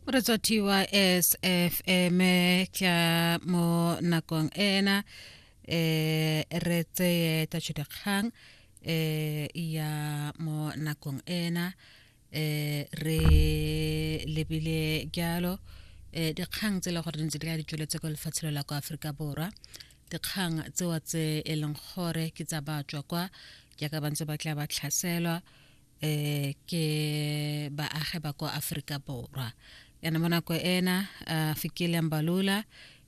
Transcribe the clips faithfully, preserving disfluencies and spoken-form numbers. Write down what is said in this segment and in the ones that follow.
Moretsi wa S F M, tla mo nakong ena eh re tseye tatšhodikgang eh ya mo nakong ena. eh re lebile jalo eh dikgang tse e le gore di ntse di ka di tsweletse ko lefatshe la kwa Aforika Borwa, dikgang tsewa tse e leng gore ke tsa batswa kwa jaaka ba ntse ba tla ba tlhaselwa eh ke baagi ba kwa Aforika Borwa. Yana mo nako ena uh, Fikile Mbalula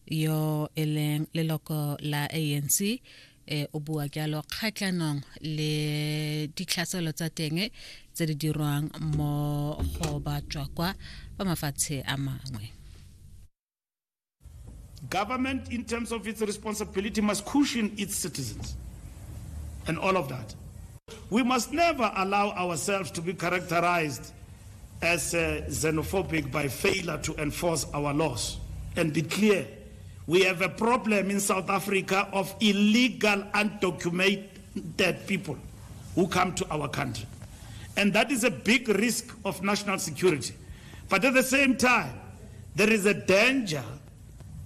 yo e leng leloko la A N C eh o bua jalo kgatlhanong le ditlhaselo tsa teng tse di dirwang mo go batswa kwa ba mafatshe a mangwe. Government, in terms of its responsibility, must cushion its citizens and all of that. We must never allow ourselves to be characterized as uh, xenophobic by failure to enforce our laws and be clear. We have a problem in South Africa of illegal, undocumented people who come to our country. And that is a big risk of national security. But at the same time, there is a danger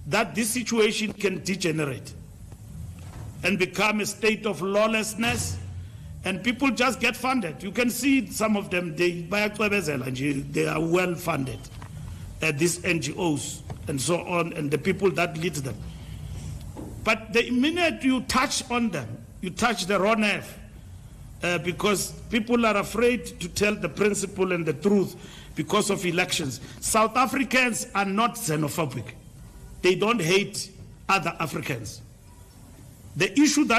that this situation can degenerate and become a state of lawlessness, and people just get funded. You can see some of them, they they are well funded, uh, these N G Os and so on, and the people that lead them. But the minute you touch on them, you touch the raw nerve, uh, because people are afraid to tell the principle and the truth because of elections. South Africans are not xenophobic. They don't hate other Africans. The issue that